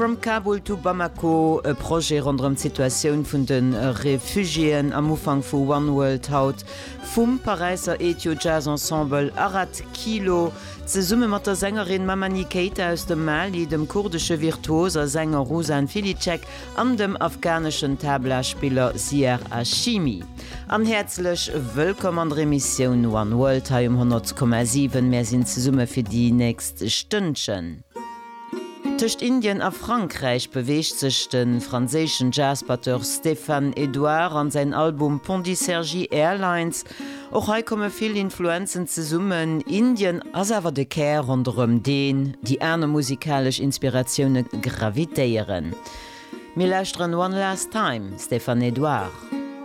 From Kabul to Bamako, e Projet ronderëm d'Situatioun vun de Refugiéen am Ufank vu One World haut vum Paräisser Ethio Jazz Ensemble Arat Kilo zesumme mat der Sängerin Mamani Keita aus dem Mali, dem kurdesche Virtuos a Sänger Ruzan Filicek an dem afghaneschen Tabla-Spiller Siar Hashimi. An häerzlech wëllkomm an der Emissioun One World hei um 100,7. Mär sinn zesumme fir déi nächst Stënnchen. Tëscht Indien a Frankräich beweegt sech de franséischen Jazzbatteur Stéphane Edouard an säin Album Pondicergy Airlines. Och hei komme vill Influenzen zesummen, Indien ass awer de Kär ronderëm deen déi aner musikalesch Inspiratioune gravitéieren. Mir lauschteren One Last Time, Stéphane Edouard.